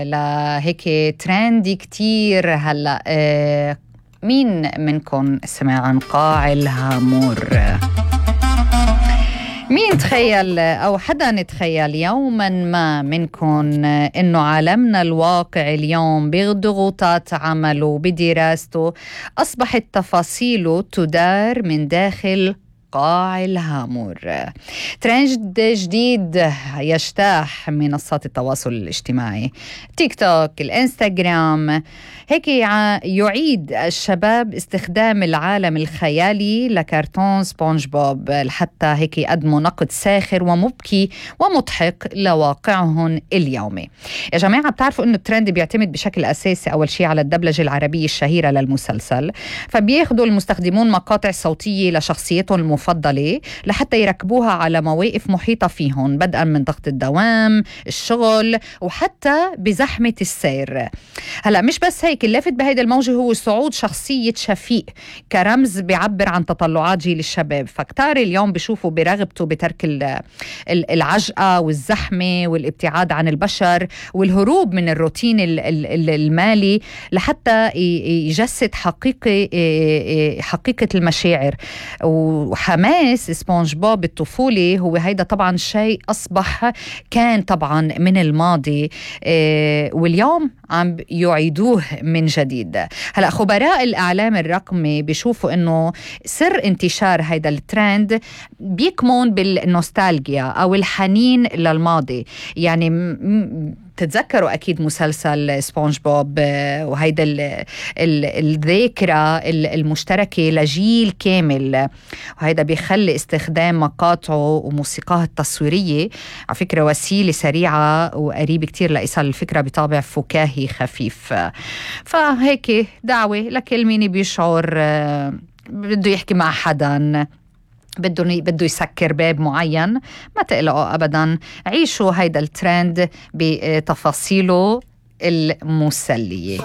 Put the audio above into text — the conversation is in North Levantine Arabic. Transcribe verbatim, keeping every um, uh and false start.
لهيك ترندي كتير هلأ. آه مين منكم سمع عن قاع الهامور؟ مين تخيل أو حدا نتخيل يوما ما منكم إنه عالمنا الواقع اليوم بضغوطات عمله وبدراسته أصبحت تفاصيله تدار من داخل قاع الهامور. ترند جديد يجتاح منصات التواصل الاجتماعي، تيك توك، الانستغرام، هيك يعيد الشباب استخدام العالم الخيالي لكرتون سبونج بوب لحتى هيك يقدموا نقد ساخر ومبكي ومضحك لواقعهم اليومي. يا جماعة بتعرفوا انه الترند بيعتمد بشكل اساسي اول شيء على الدبلجة العربية الشهيرة للمسلسل، فبياخدوا المستخدمون مقاطع صوتية لشخصيتهم المفضلة لحتى يركبوها على مواقف محيطة فيهم، بدءا من ضغط الدوام، الشغل، وحتى بزحمة السير. هلا مش بس هيك، اللافت بهيدا الموجة هو صعود شخصية شفيق كرمز بيعبر عن تطلعات جيل الشباب، فكتار اليوم بيشوفوا برغبته بترك العجقة والزحمة والابتعاد عن البشر والهروب من الروتين المالي لحتى يجسد حقيقة حقيقة المشاعر وحماس سبونج بوب الطفولي. هو هيدا طبعا شيء أصبح كان طبعا من الماضي واليوم عم يعيدوه من جديد. هلأ خبراء الإعلام الرقمي بيشوفوا إنه سر انتشار هيدا الترند بيكمن بالنوستالجيا أو الحنين للماضي. يعني م- تتذكروا أكيد مسلسل سبونج بوب وهيدا الذاكرة المشتركة لجيل كامل، وهيدا بيخلي استخدام مقاطعه وموسيقاه التصويرية على فكرة وسيلة سريعة وقريبة كتير لإيصال الفكرة بطابع فكاهي خفيف. فهيك دعوة لكل مين بيشعر بده يحكي مع حدا، بده بده يسكر باب معين، ما تقلقوا أبدا، عيشوا هيدا الترند بتفاصيله المسلية.